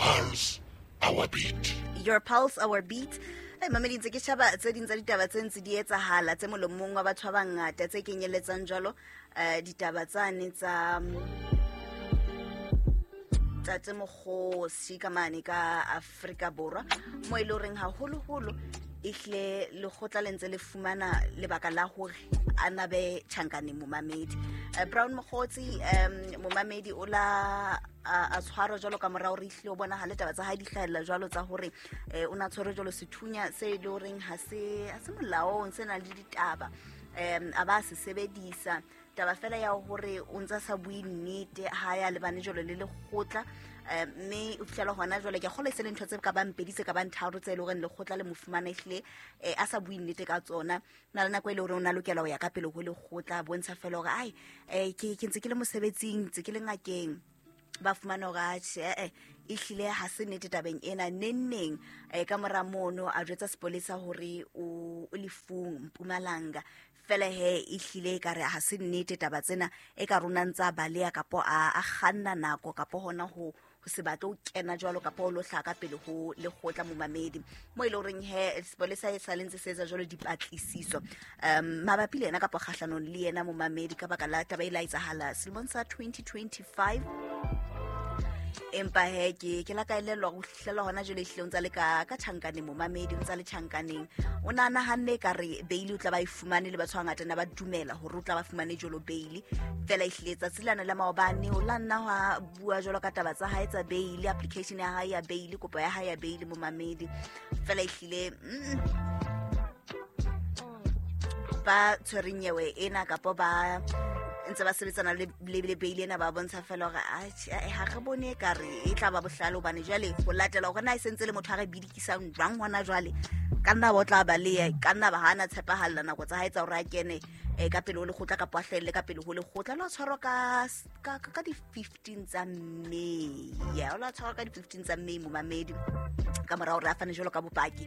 pulse, our beat. Your pulse, our beat. Hey, mamedi, ntse ke shaba tse ding tsa ditaba tse ntse di etsahala tse molomong wa batho ba bangata, tse kenyelletsang jwalo ditaba tsane tsa Tate Mokgosi ka mane ka Afrika Borwa, mo e le horeng haholoholo ehlile lekgotla le ntse le fumana lebaka la hore a nabe tjhankaneng momamedi. Brown Mokgotsi, momamedi o la a tshwarwa jwalo ka morao re ehlile o bonahale taba tsa hae di hlahella jwalo tsa hore o na tshwerwe jwalo sethunya se e le horeng ha se molaong, se nang le ditaba, a ba se sebedisa. Taba fela ya hore o ntsa sa bue nnete ha ya lebane jwalo le lekgotla, mme o fihlela hona jwale ke kgolwa e se le ntho tse ka bang pedi tse ka bang tharo tse e leng hore lekgotla le mo fumana ehlile a sa bue nnete ka tsona. Na le nako e le hore o na lokela ho ya ka pele ho lekgotla, bontsha fela hore ai, ke ntse ke le mosebetsing, ntse ke le ngakeng, ba fumana hore atjhe, ehlile ha se nnete tabeng ena. Neng ka mora mono a jwetsa sepolesa hore o lefung Mpumalanga. Fela he ehlile e kare ha se nnete taba tsena, e ka rona ntsa baleha kapo a kganna nako kapo hona ho se batle ho kena jwalo kapo ho lo hlaka pele ho lekgotla momamedi. Mo e le horeng he sepolesa e sa le ntse se etsa jwalo dipatlisiso mabapi le yena kapo kgahlanong le yena momamedi ka baka la taba e la etsahala selemong sa 2025. Empa he ke la ka elellwa ho fihlela hona jwale ehlile o ntsa le ka tjhankaneng momamedi, o ntsa le tjhankaneng. O na nahanne e ka re bail o tla ba e fumane, le batho ba bangata na ba dumela hore o tla ba fumane jwalo bail. Fela ehlile tsatsi lana la maobane o la nna hwa bua jwalo ka taba tsa hae tsa bail, application ya hae ya bail, kopo ya hae ya bail momamedi. Fela ehlile ba tshwereng nyewe ena kapo ba ntse ba sebetsana le bail ena, ba bontsha fela hore ha re bone ka re e tla ba bohlale, hobane jwale ho latela hore na e sentse le motho a re bidikisang jwang hona jwale, ka nna ba o tla ba le ka nna ba hana tshepahalla nako tsa hae tsa hore a kene ka pele ho lekgotla kapa a hlahelle ka pele ho lekgotla. Lo tshwarwa ka di 15 tsa May. Ya, o la tshwarwa ka di 15 tsa May momamedi, ka mora hore a fane jwalo ka bopaki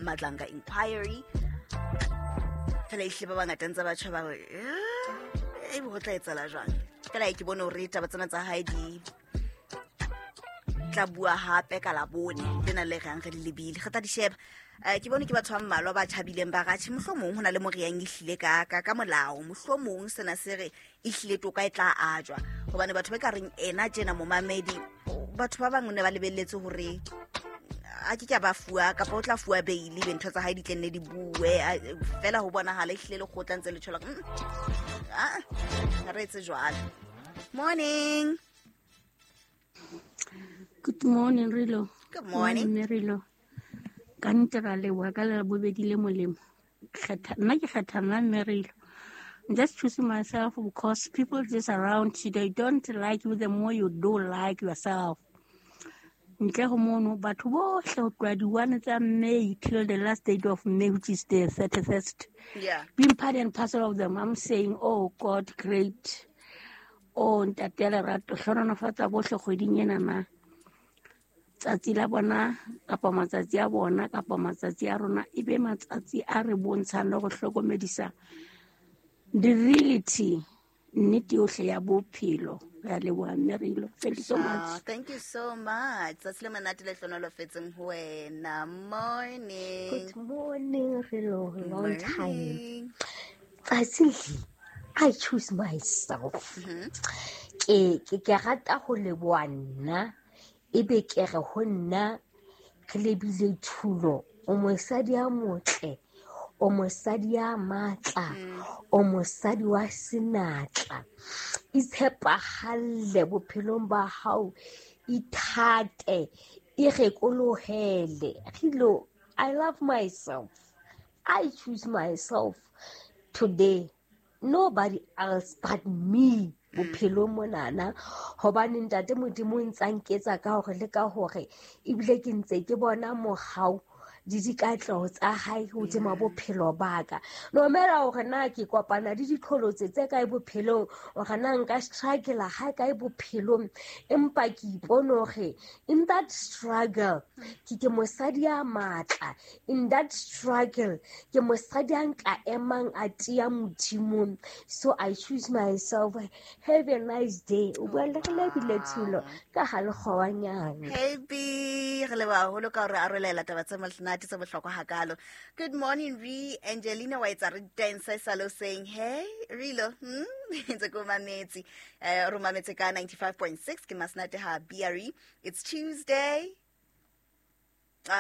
Madlanga inquiry. Fela ehlile ba bangata ntse ba tjho ba re e bo tla etsahala jwang. Fela ke bone hore taba tsena tsa hae di tla bua hape ka Labone lena le reng re le lebile, re tla di sheba. Ke bone ke batho ba mmalwa ba thabileng ba ratjhe, mohlomong ho na le moriang ehlile ka molao, mohlomong sena se re ehlile toka e tla ajwa, hobane batho ba ka reng ena tjena momamedi, batho ba bang ne ba lebelletse hore a ke ke ba fuwa kapa o tla fuwa bail, be ntho tsa hae di tle nne di bue fela ho bonahala ehlile lekgotla ntse le tjhola. Ha re etse jwalo. Morning. Good morning, Rilo. Good morning. Morning, Rilo. Ka nnete ra leboha ka le bobedi le molemo. Nna ke kgetha nna mme Rilo. I'm just choosing myself because people just around you, they don't like you the more you do like yourself. Ntle ho mono, batho bohle ho tloha di-1 tsa May till the last date of May, which is the 31st. Yeah. Being part and parcel of them, I'm saying, oh God, great. Oh, ntate ya lerato, hlohonolofatsa bohle kgweding ena na. Tsatsi la bona, kapa matsatsi a bona, kapa matsatsi a rona, e be matsatsi a re bontshang le go hlokomedisa the reality, nnete yohle ya bophelo. Re a leboha mme Rilo. Thank you so much. Thank you so much. Tsatsi le monate le hlohonolofetseng ho wena. Morning. Good morning, Rilo. Long time. Morning. Tsatsi le, I choose myself. Ke rata ho leboha nna, ebe ke re ho nna re lebile thulo. O mosadi ya motle, o mosadi ya matla, o mosadi wa senatla. Itshepahalle bophelong ba hao, ithate, irekolohele. Rilo, I love myself. I choose myself today. Nobody else but me. Bophelong monana, hobane ntate Modimo o ntsa nketsa ka hore le ka hore, ebile ke ntse ke bona mohau Di dikatleho tsa hae hodima bophelo ba ka. No matter hore na ke kopana le diqholotso tse kae bophelong, hore na nka struggle ha kae bophelong, empa ke ipone hore in that struggle ke mosadi ya matla. In that struggle ke mosadi a nka emang a tia Modimong. So I choose myself. Have a nice day. O bua le re lebile Thulo ka ha lekgowanyane. Happy re leboha haholo ka hore arolela taba tse monate tse bohlokwa hakalo. Good morning re Angelina wa etsa re dance salo saying hey Rilo ntse ko mametse re mametse ka 95.6 ke Masenate ha BRE. It's Tuesday.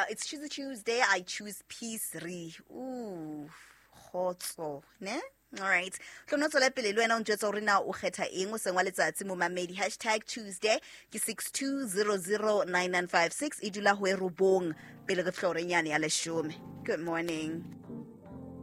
It's Tuesday, Tuesday. I choose peace re. Ooh, kgotso, ne? All right. Tlo no tswela pele le wena o ntjwetsa hore na o kgetha eng o seng wa letsatsi momamedi. Hashtag Tuesday ke 62009956 e dula ho e robong pele re fihla horeng yane ya leshome. Good morning.